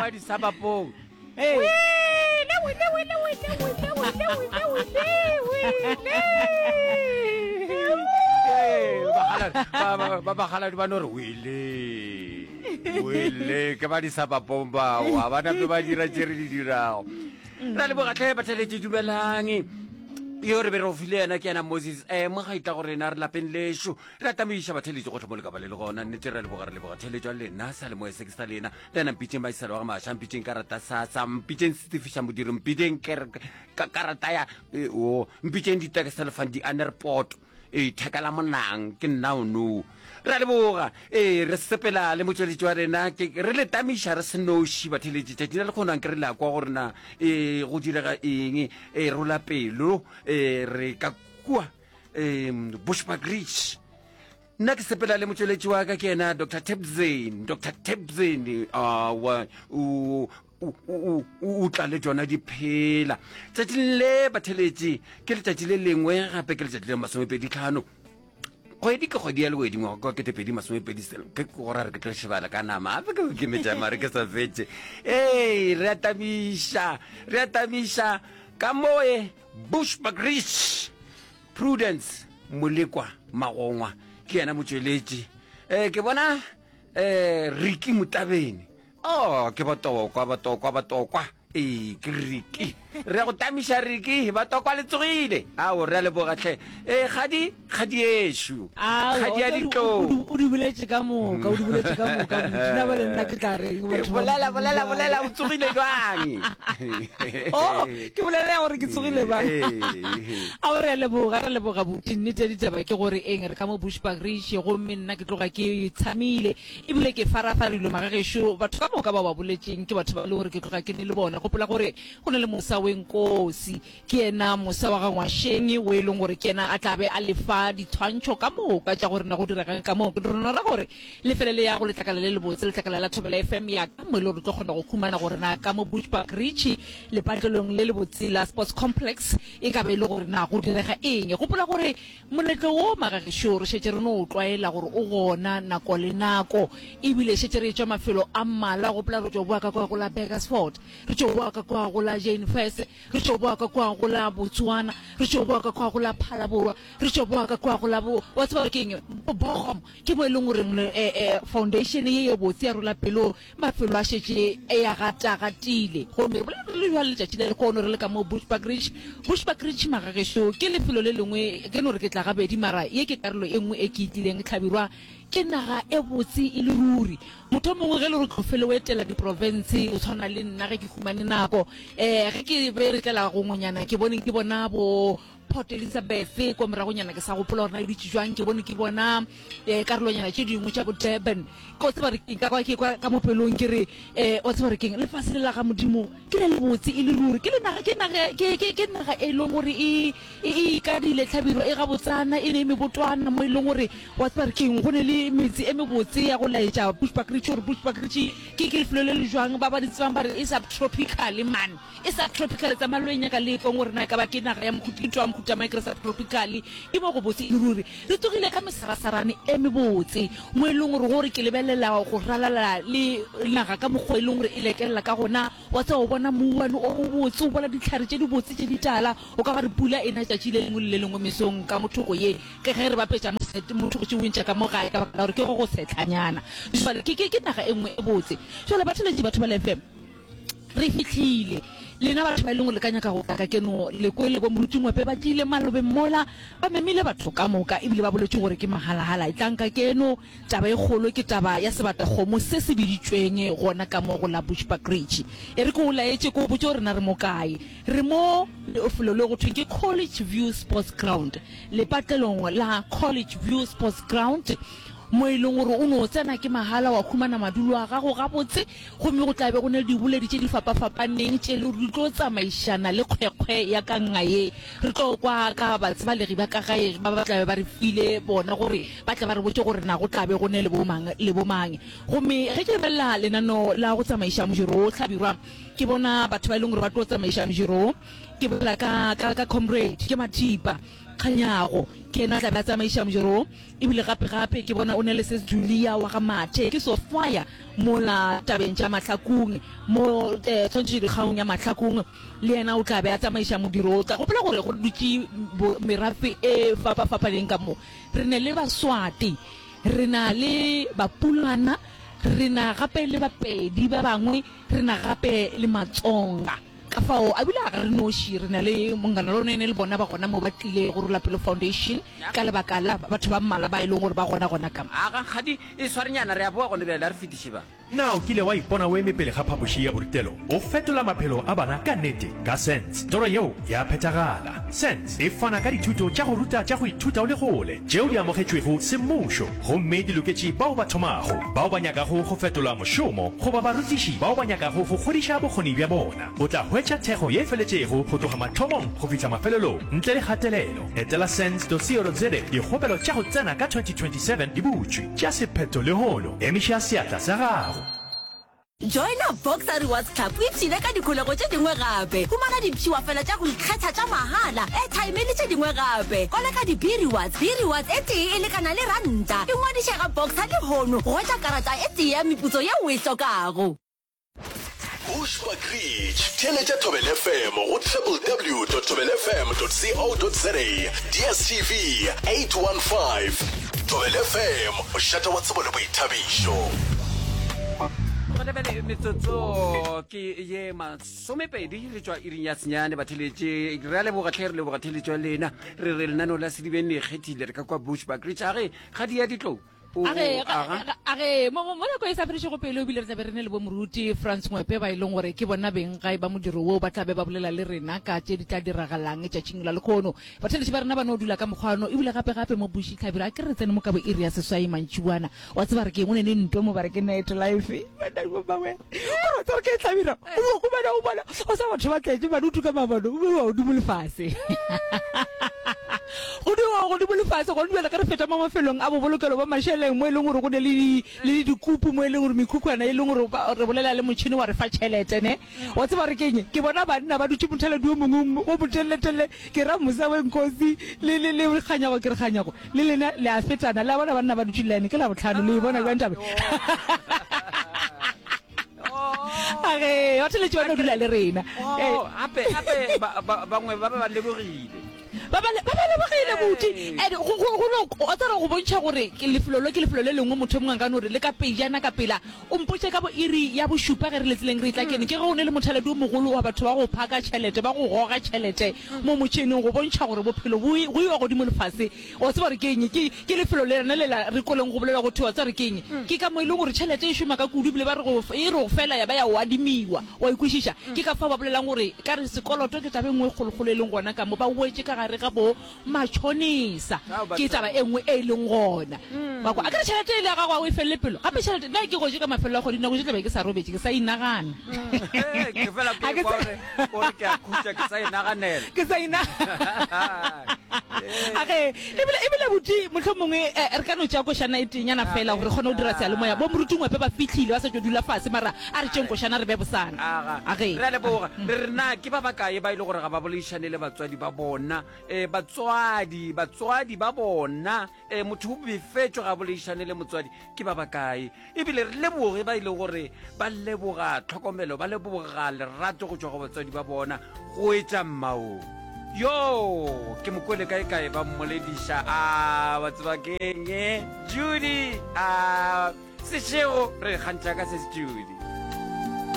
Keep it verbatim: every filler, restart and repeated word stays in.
ba disabapong. Ee. Wele, wele, wele, wele, wele, wele, wele, wele, wele. Ee, bakgaladi- ba- ba- ba bakgaladi ba no re wele wele ke ba disabapong bao ga ba nape ba dira tše re di dirago. Ra leboga tlhe batheletše, dumelang. Yo re be re go file yena ke yena Moses um mo ga itla go rena re lapeng lešo re atamiša batheletše gotlhe mo le ka ba le le gona. Nnete re leboga, re leboga theletšo ya lena sa le moya se ke sa lena le ena. Mpitšeng baisala wa ga maša, mpitšeng karata sasa, mpitšeng setefiša modiro, mpitšeng ker- ka- karata ya eh, o mpitšeng ditekselefan di-anerport e theka la monang ke nna ono. Re a leboga. Ee, re sepela le motšweletši wa rena ke re le tamiša re senoši batheletši tšatši la lekgono ke re la kwa gore na e go direga eng. E rola pelo e re ka kua um Bushbuckridge. Nna ke sepela le motšweletši wa ka ke yena Doctor Tebzin. Doctor Tebzin awa o o- o o tla le tšona diphela tšatšing le batheletši. Ke letšatši le lengwe gape, ke letšatši le masomepedi tlhano kgwedi ke kgwedi ya lewedi ngwaga ka ketepedi masomepedi selo ke gora re ke tlo šebala ka nama gape ke ke metša mare ke sa fetše. Ee, re atamiša, re atamiša ka moe Bushbuckridge. Prudence Molekwa Magongwa ke yena motšweletši. um ke bona um Riki Motabene. Oh, ke batokwa, batokwa, batokwa. Ee, ke Riki, re ya go tamiša Riki. Batokwa le tsogile? Ao, re a leboga tlhe. Ee, kgadi, kgadi ešo, kgadi ya ditlou. O di boletše ka moka, o di boletše ka moka. Nna ba le nna ke tla reng, batho ba? Bolela, Modimo bolela. Bjale? Bolela, o tsogile jwang? Oh, ke bolela ya gore ke tsogile bang? Ee. Ao, re a leboga, re leboga buti. Nnete ya ditaba ke gore eng, re ka mo Bushbuckridge gomme nna ke tloga ke tshamile ebile ke farafarilwe magagešo. Batho ka moka ba ba boletseng ke batho ba e le gore ke tloga ke ne le bona. Gopola gore go na le Mosa Wenkosi, ke yena Mosa wa ga Ngwašeng o e leng gore ke yena a tla be a lefa ditshwantšho ka moka tša gore na go diregang ka moo. Ke rona ra gore lefele le ya go letlakala le lebotse, letlakala la Thobela F M ya ka mo e le gore tlo kgona go humana gore na ka mo Bushbuckridge lepatlelong le lebotse la sports complex e ka be e le gore na go direga eng. Gopola gore moletlo wo magagešo re šetše re no o tlwaela gore o gona nako le nako ebile šetše re etšwa mafelo a mmalwa. Gopola re tšo boa ka kwa go la Burgersfort, re tšo boa ka kwa go la Jane Furse, re tšo boa ka kwa go la Botswana, re tšo boa ka kwa go la Phalaborwa, re tšo boa ka kwa go la bo wa tseba gore ke eng, Bogom, ke mo e leng goreng eh, eh, foundation ye ye botse ya rola pelo mafelo a šetše e ya gatagatile. Gomme re bolela re le jwale letšatši le lekono re le ka mo Bushbuckridge. Bushbuckridge magagešo ke lefelo le lengwe ke no re ke tla gabedi mara ye ke karolo e nngwe e ke e tlileng. Tlhabirwa, ke naga e botse e le ruri. Motho o mongwe ge le gore tlofele o etela diprovince o tshwana le nna ge ke humane nako um ge ke be re tlela gongwenyana ke bone ke bona bo Port Elizabeth kwa moragonyana, ke sa gopola gore na e dutše jwang. Ke bone ke bona um karolonyana tše dingwe tša bo Durban. Ke o tseba re keng ka kwa ke kwa ka mo pelong ke re um wa tseba re keng, lefase le la ga Modimo ke le lebotse e le ruri. Ke le naga, ke naga, ke ke ke naga e leng gore e e e ikadile tlhabiro e gabotsana e ne e mebotwana mo e leng gore wa tseba re keng go ne le metse e mebotse ya go laetša Bushbuckridge gore Bushbuckridge ke ke lefelo le le jwang. Ba ba di tsebang ba re e subtropical man, e subtropical. Tsamaya lo e nyaka le kweng gore na e ka ba ke naga ya mohuta, ke ntho ya mohuta mang ke re subtropical. Ke mo go botse e le ruri. Re tsogile ka mesarasarane e mebotse mo e leng gore gore ke lebelela go ralala le naga ka mokgwa e leng gore e lekelela ka gona. Wa tseba o bona mouwane o mobotse, o bona ditlhare tše dibotse tše ditala, o ka ba re pula e na tšatši le lengwe le le lengwe mesong ka mothoko ye ke ge re bapetša mo thoko tše bontšha ka mo gae ka baka la gore ke go go setlhanyana. Jwale ke ke ke naga e nngwe e botse. Jwale batheletši, batho ba le F M, re fitlhile. Lena batho ba e leng gore le ka nyaka go tla ka keno le kwele bo moruti Ngwepe ba tlile malobeng mola ba memile batho ka moka ebile ba boletse gore ke mahalagala e tlang ka keno. Taba e kgolo ke taba ya sebatakgomo se se biditšweng gona ka mo go la Bushbuckridge. E re ke o laetše, ke o botse gore na re mo kae. Re mo lefelo le go thweng ke College View Sports Ground, lepatlelong la College View Sports Ground mo e leng gore o no tsena ke mahala wa humana madulo a gago gabotse. Gomme go tla be go ne le diboledi tše di fapafapaneng tše le gore di tlo tsamaišana le kgwekgwe ya ka nga ye. Re tlo kwa ka batsebalegi ba ka gae ba ba tla be ba re file bona gore ba tla ba re botse gore na go tla be go ne le bomang le bomang. Gomme ge ke lebelela lenano la go tsamaiša mojero o hlabirwa, ke bona batho ba e leng gore ba tlo tsamaiša mojero. Ke bolela ka, ka, ka comrade ke Mathipa Kganyago, Ke yena a tla be a tsamaiša modiro wo. Ebile gape-gape ke bona o ne le Sis Julia wa ga Mathe, ke Sofia mola tabeng tša Mahlakung, mo tshwantšhetšo dikgaong ya Mahlakung, le yena o tla be a tsamaiša modiro wo. Tla gopola gore go dutše merafe e fapa-fapaneng ka mo. Re ne le Baswati, re na le Bapulana, re na gape le Bapedi ba bangwe, re na gape le Matsonga. Ka fao, a bile ga re noši, re na le Monghana Lonene le bona ba gona mo ba tlile go Rola Pelo Foundation ka lebaka la batho ba mmalwa ba e leng gore ba gona gona ka mo. Aga, kgadi, e swarenyana, re a boa gone bjale, a re fetiše ba. Na o kile wa ipona o eme pele ga phapoši ya borutelo o fetola maphelo a bana ka nnete? Ka SENS, toro yeo ya phethagala. SENS e fana ka dithuto tša go ruta tša go ithuta o le kgole tšeo di amogetšwego semmušo gomme di loketše bao ba thomago, bao ba nyakago go fetola mošomo goba barutiši bao ba nyakago go godiša bokgoni bja bona. O tla hwetša thekgo ye e feletšego go tloga mathomong go fihla mafelelong ntle le kgatelelo. Etela sens dot co dot za. Dikgopelo tša go tsena ka twenty twenty seven di butšwe. Tšea sephetho lehono. Emiša seatla sa gago. Joina Boxer Rewards Club o ipshine ka dikholego tše dingwe gape. Humana dipšiwafela tša go ikgetha tša mahala, airtime le tše dingwe gape. Koleka di-B-Rewards. B-Rewards e tee e lekana le ranta. Ingwadiše ga Boxer lehono go hwetša karata e tee ya meputso yeo o e hlokago. Bushbuckridge, theeletša Thobela F M go www dot thobela f m dot co dot za, D S T V eight one five. Thobela F M, mošate wa tsebo le boithabišo. Gona bjale metsotso ke ye masomepedi re tšwa iring ya senyane batheletše re a leboga tlhe re leboga theletšo ya lena re re lenaneo la Sedibeng le ikgethile re ka kwa Bushbuckridge a ge ga di ya ditlou. A ge, a ge, mo, mo, mo nako e sa fedišego pelo, ebile re tla be re ne le bo moruti Frans Ngwepe, ba e leng gore ke bona beng gae ba modiro woo, ba tla be ba bolela le rena ka tše di tla diragalang tšatšing la lekhono. Batheeletši ba rena ba no dula ka mokgwano, ebile gape gape mo Bushi Hlabirwa, a ke re tsene mo ka bo iri ya seswai mantšiboana. Wa tseba re ke eng, o ne ne ntwa mo ba re ke night life. Banna bo mangwe. Gore wa tseba re ke eng Hlabirwa? O bo humana o bona, o sa batho ba tletše, bane o tuka mabone, o bewa godimo le fase. Go bewa godimo le fase, gone bjale ge re feta mo mafelong a bobolokelo ba mašeleng mo e leng gore go ne le le dikupu mo e leng gore mekhukhwana e leng gore re bolela le motšhini wa re fa tšhelete ne. Wa tseba re keng? Ke bona banna ba dutše mothaladi o mongwe o moteleletelele, ke ra Musa Wenkosi le le le Kganyago, ke re Kganyago le lena le a fetana, le a bona banna ba dutše line ke Labohlano, le e bona bjang taba? A ge batheletši ba no dula le rena. Gape gape bangwe ba ba lebogile. Ba ba ba lebogile buti. And go go go no o tsara go bontšha gore ke lefelo lo ke lefelo le lengwe motho mongwe a ka no re le ka pejana ka pela. O mpotše ka bo iri ya bošupa ge re le tseleng re tla kene ke ge o ne le mothaladi o mogolo wa batho ba go phaka tšhelete ba go goga tšhelete mo motšheneng go bontšha gore bophelo bo go iwa godimo le fase. O tseba gore ke eng? Ke ke lefelo le lena le la re kweleng go bolelwa go thwe wa tseba gore ke eng? Ke ka mo e leng gore tšhelete e šoma ka kudu ebile ba re go e re go fela ya ba ya o adimiwa. Wa e kwešiša? Ke ka fao ba bolelang gore ka re sekoloto ke taba e nngwe e kgolokgolo e leng gona ka mo ba wetše ka gare ga bo matšhonisa. Ke taba e nngwe e leng gona. Wa kwa? Akere tšhelete e le ya gago ga o e felele pelo. Gape tšhelete nna ke gotše ka mafelelo a kgwedi nako tše tla be ke sa robetše ke sa inagana. Ke fela ke kwa gore o re ke a khutša ke sa inaganela. Ke sa inagana. Age ebile ebile buti mohlomongwe re ka no tšea košana e teenyana fela gore re kgone go dira seyalemoya. Bo moruti Ngwepe ba fihlile ba sa tšo dula fase mara a re tšeng košana re be bosana. Aga Age. re a leboga. Re re na ke ba bakae ba e le gore ga ba boledišane le batswadi ba bona? E, batswadi, batswadi ba bona, e, motho o befetšwe ga boledišane le motswadi, ke ba bakae? Ebile re leboge ba e le gore ba leboga tlhokomelo, ba leboga lerato go tšwa go batswadi ba bona, go etša mmao. Yo, ke mo kwele kae kae ba mmolediša, a ba tseba keng, Judy, a sešego re kgantšha ka se Judy.